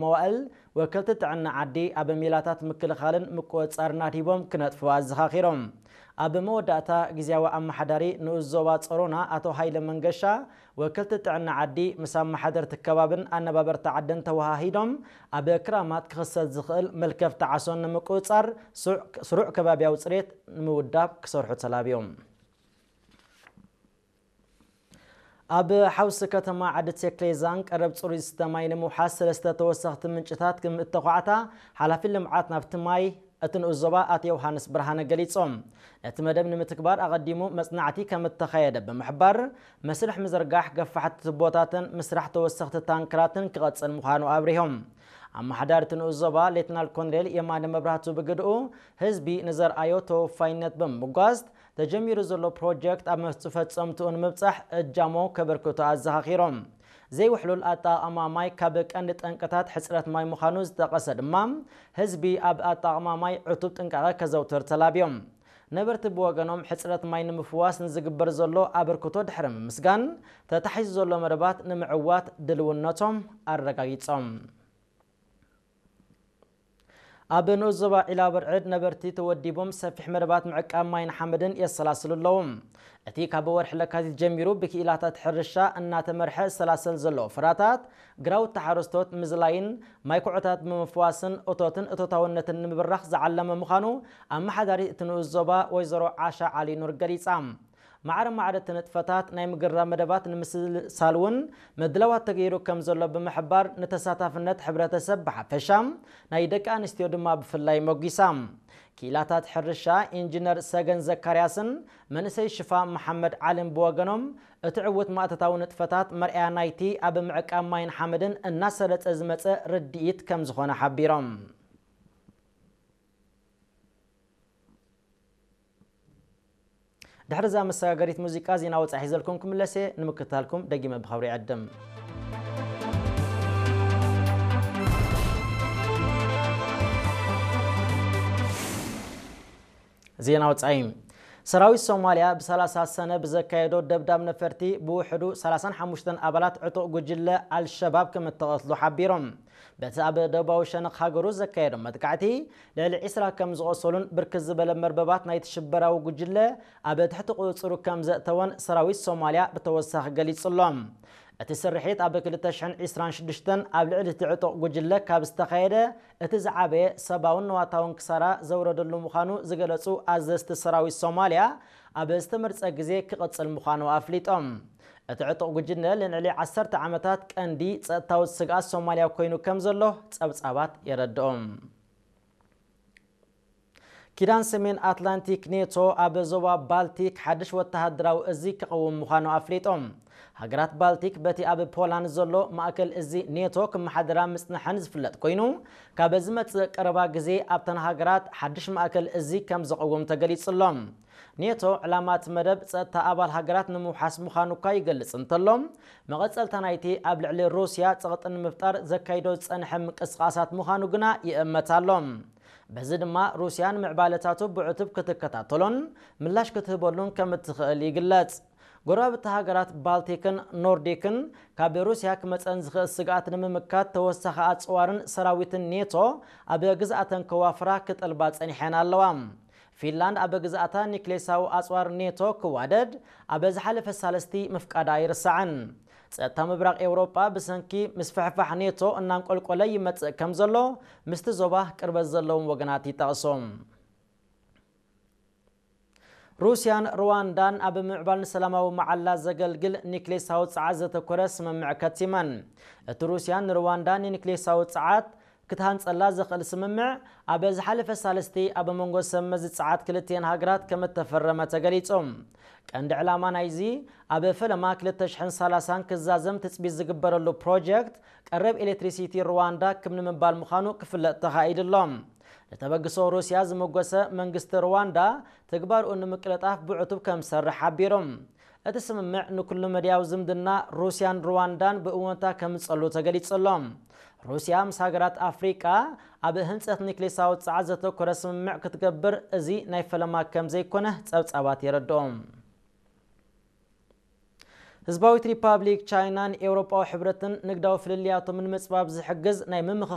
መዋእል ወከልቲ ጥዕና ዓዲ ኣብ ሜላታት ምክልኻልን ምቁጽጻርን ኣድሂቦም ክነጥፉ ኣዘኻኺሮም። ኣብ መወዳእታ ግዝያዊ ኣመሓዳሪ ንኡስ ዞባ ጸሮና ኣቶ ሃይለ መንገሻ ወከልቲ ጥዕና ዓዲ ምስ ኣመሓደርቲ ከባብን ኣነባበርቲ ዓድን ተወሃሂዶም ኣብ ክራማት ክኽሰት ዝኽእል መልከፍቲ ዓሶን ንምቁጽጻር ስሩዕ ከባብያዊ ጽሬት ንምውዳብ ክሰርሑ ተላብዮም። ኣብ ሓውሲ ከተማ ዓዲ ቴክሌዛን ቀረብ ጽሩይ ዝስተ ማይ ንምውሓስ ሰለስተ ተወሰኽቲ ምንጭታት ከም እተዃዕታ ሓላፊ ልምዓት ናብቲ ማይ እቲ ንኡስ ዞባ ኣቶ ዮሃንስ ብርሃነ ገሊጾም። ነቲ መደብ ንምትግባር ኣቐዲሙ መጽናዕቲ ከም እተኻየደ ብምሕባር መስርሕ ምዝርጋሕ ገፋሕቲ ቱቦታትን ምስራሕ ተወሰኽቲ ታንክራትን ክቐጽል ምዃኑ ኣብሪሆም። ኣመሓዳሪ እቲ ንኡስ ዞባ ሌትናል ኮሎኔል የማነ መብራህቱ ብግድኡ ህዝቢ ንዘርኣዮ ተወፋይነት ብምምጓዝ ተጀሚሩ ዘሎ ፕሮጀክት ኣብ መፍጽ ፈጸምትኡ ንምብጻሕ እጃሞ ከበርክቱ ኣዘኻኺሮም። ዘይውሕሉል ኣጠቓቕማ ማይ ካብ ቀንዲ ጠንቅታት ሕጽረት ማይ ምዃኑ ዝጠቐሰ ድማ ህዝቢ ኣብ ኣጠቓቕማ ማይ ዕቱብ ጥንቃቐ ከዘውትር ተላብዮም። ነበርቲ ብወገኖም ሕጽረት ማይ ንምፍዋስ ንዝግበር ዘሎ ኣበርክቶ ድሕሪ ምምስጋን ተታሒዙ ዘሎ መደባት ንምዕዋት ድልውነቶም ኣረጋጊጾም። ኣብ ንኡስ ዞባ ዒላ ብርዕድ ነበርቲ ተወዲቦም ሰፊሕ መደባት ምዕቃብ ማይን ሓመድን የሰላስሉ ኣለዉ። እቲ ካብ ወርሒ ለካቲት ጀሚሩ ብክኢላታት ሕርሻ እናተመርሐ ዝሰላሰል ዘሎ ፍራታት ግራውቲ ሓረስቶት ምዝላይን ማይ ኩዕታት ብምፍዋስን እቶትን እቶታውነትን ንምብራኽ ዝዓለመ ምዃኑ ኣመሓዳሪት እቲ ንኡስ ዞባ ወይዘሮ ዓሻ ዓሊ ኑር ገሊጻ። ማዕረ ማዕረ እቲ ንጥፈታት ናይ ምግራብ መደባት ንምስልሳል እውን ምድላዋት ተገይሩ ከም ዘሎ ብምሕባር ንተሳታፍነት ሕብረተሰብ ብሓፈሻ ናይ ደቂ ኣንስትዮ ድማ ብፍላይ ሞጊሳ። ክኢላታት ሕርሻ ኢንጂነር ሰገን ዘካርያስን መንእሰይ ሽፋ መሓመድ ዓልን ብወገኖም እቲ ዕውት ማእተታዊ ንጥፈታት መርኣያ ናይቲ ኣብ ምዕቃብ ማይን ሓመድን እናሰለጸ ዝመጸ ርድኢት ከም ዝኾነ ሓቢሮም። ድሕሪ እዛ መሰጋገሪት ሙዚቃ ዜና ወጻኢ ሒዘልኩም ክምለስ እየ። ንምክታልኩም ደጊመ ብኸብሪ ይዕድም። ዜና ወጻኢ። ሰራዊት ሶማልያ ብ30 ሰነ ብዘካየዶ ደብዳብ ነፈርቲ ብውሕዱ ሰላሳን ሓሙሽተን ኣባላት ዕጡቕ ጉጅለ ኣልሸባብ ከም እተቐትሉ ሓቢሮም። በቲ ኣብ ደቡባዊ ሸነኽ ሃገሩ ዘካየዶ መጥቃዕቲ ልዕሊ ዒስራ ከም ዝቖሰሉን ብርክት ዝበለ መርበባት ናይቲ ሽበራዊ ጉጅለ ኣብ ትሕቲ ቁጽጽሩ ከም ዘእተወን ሰራዊት ሶማልያ ብተወሳኺ ገሊጹ ኣሎ። እቲ ስርሒት ኣብ ክልተ ሽሕን ዕስራን ሽዱሽተን ኣብ ልዕሊ እቲ ዕጡቕ ጉጅለ ካብ ዝተኻየደ እቲ ዝዓበየ ሰብኣውን ንዋታውን ክሳራ ዘውረደሉ ምዃኑ ዝገለጹ ኣዘዝቲ ሰራዊት ሶማልያ ኣብ ዝተመርጸ ግዜ ክቕጽል ምዃኑ ኣፍሊጦም። እቲ ዕጡቕ ጉጅለ ንልዕሊ ዓሰርተ ዓመታት ቀንዲ ጸጥታዊ ስግኣት ሶማልያ ኮይኑ ከም ዘሎ ጸብጻባት የረድኦም። ኪዳን ሰሜን ኣትላንቲክ ኔቶ ኣብ ዞባ ባልቲክ ሓድሽ ወተሃደራዊ እዚ ክቐውም ምዃኑ ኣፍሊጦም። ሃገራት ባልቲክ በቲ ኣብ ፖላንድ ዘሎ ማእከል እዚ ኔቶ ክመሓደራ ምጽንሐን ዝፍለጥ ኮይኑ፣ ካብ ዝመጽእ ቀረባ ግዜ ኣብተን ሃገራት ሓድሽ ማእከል እዚ ከም ዝቐውም ተገሊጹ ኣሎ። ኔቶ ዕላማ እቲ መደብ ጸጥታ ኣባል ሃገራት ንምውሓስ ምዃኑ እኳ ይገልጽ እንተሎ፣ መቐጸልታ ናይቲ ኣብ ልዕሊ ሩስያ ጸቕጢ ንምፍጣር ዘካይዶ ዝጸንሐ ምንቅስቓሳት ምዃኑ ግና ይእመት ኣሎ። በዚ ድማ ሩስያ ንምዕባለታቱ ብዕቱብ ክትከታተሎን ምላሽ ክትህበሉን ከም እትኽእል ይግለጽ። ጎረባብቲ ሃገራት ባልቲክን ኖርዲክን ካብ ሩስያ ክመጸን ዝኽእል ስግኣት ንምምካት ተወሳኺ ኣጽዋርን ሰራዊትን ኔቶ ኣብ ግዝኣተን ከዋፍራ ክጠልባ ጸኒሐን ኣለዋ። ፊንላንድ ኣብ ግዝኣታ ኒክሌሳዊ ኣጽዋር ኔቶ ክዋደድ ኣብ ዝሓለፈ ሳልስቲ ምፍቃዳ ኣይርሳዕን። ጸጥታ ምብራቕ ኤውሮጳ ብሰንኪ ምስፍሕፋሕ ኔቶ እናንቆልቆለ ይመጽእ ከም ዘሎ ምስቲ ዞባ ቅርበት ዘለዎም ወገናት ይጠቕሱ። ሩስያን ሩዋንዳን ኣብ ምዕባል ንሰላማዊ መዓላ ዘገልግል ኒክሌሳዊ ጸዓት ዘተኮረ ስምምዕ ከቲመን። እቲ ሩስያ ንሩዋንዳ ንኒክሌሳዊ ጸዓት ክትሃንጸላ ዘኽእል ስምምዕ ኣብ ዝሓለፈ ሳልስቲ ኣብ መንጎ ሰብ መዚ ጸዓት ክልቲኤን ሃገራት ከም እተፈረመ ተገሊጹ። ቀንዲ ዕላማ ናይዚ ኣብ ፈለማ ክልተ ሽሕን ሰላሳን ክዛዘም ትጽቢት ዝግበረሉ ፕሮጀክት ቀረብ ኤሌክትሪሲቲ ሩዋንዳ ክብ ንምባል ምዃኑ ክፍለጥ ተኻኢዱ ኣሎ። ንተበግሶ ሩስያ ዝመጎሰ መንግስቲ ሩዋንዳ ተግባርኡ ንምቅልጣፍ ብዕቱብ ከም ዝሰርሕ ሓቢሮም። እቲ ስምምዕ ንኩሉ መድያዊ ዝምድና ሩስያን ሩዋንዳን ብእወንታ ከም ዝጸሉ ተገሊጹ ኣሎ። ሩስያ ምስ ሃገራት ኣፍሪቃ ኣብ ህንጸት ኒክሌሳዊ ጸዓት ዘተኮረ ስምምዕ ክትገብር እዚ ናይ ፈለማ ከም ዘይኮነ ጸብጻባት የረድኦም። ህዝባዊት ሪፓብሊክ ቻይናን ኤውሮጳዊ ሕብረትን ንግዳዊ ፍልልያቶም ንምጽባብ ዝሕግዝ ናይ ምምኽኻር